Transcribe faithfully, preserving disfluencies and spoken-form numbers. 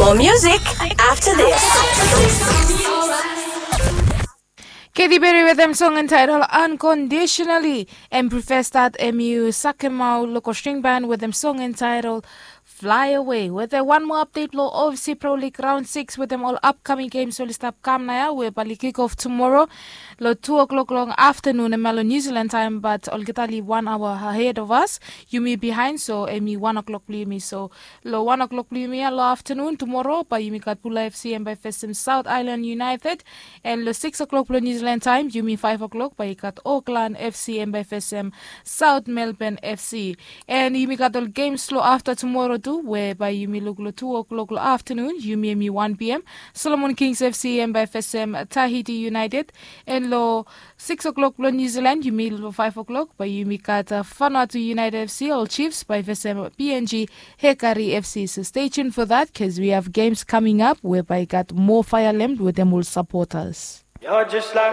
More music after this. Katy Perry wetem song entitled Unconditionally. Em prefer start em yu sakemau loko string band wetem song entitled Fly Away. Wetem wan moa update lo O F C Pro League round six wetem ol upcoming games oli stap kam nao ya we bali kick off tumoro lo two o'clock long afternoon em ya lo New Zealand time, but olgeta li one hour ahead of us. Yumi behind, so em i one o'clock blo yumi. So lo one o'clock blo yumi ya lo afternoon tumoro bae yumi gat Bula F C em bae fesem South Island United. And lo six o'clock blo New Zealand time, yumi five o'clock bae i gat Auckland F C em bae fesem South Melbourne F C. And yumi gat ol games lo afta tumoro tu we bae yumi luk lo two o'clock lo afternoon, yumi em i one P M. Solomon Kings F C em bae fesem Tahiti United. And lo six o'clock blo New Zealand, yumi lo five o'clock bae yumi gat uh, Vanuatu United F C, ol Chiefs bae fesem P N G Hekari F C. So stay tuned for that because we have games coming up we bae gat more fire lamb wetem ol supporters. You're just like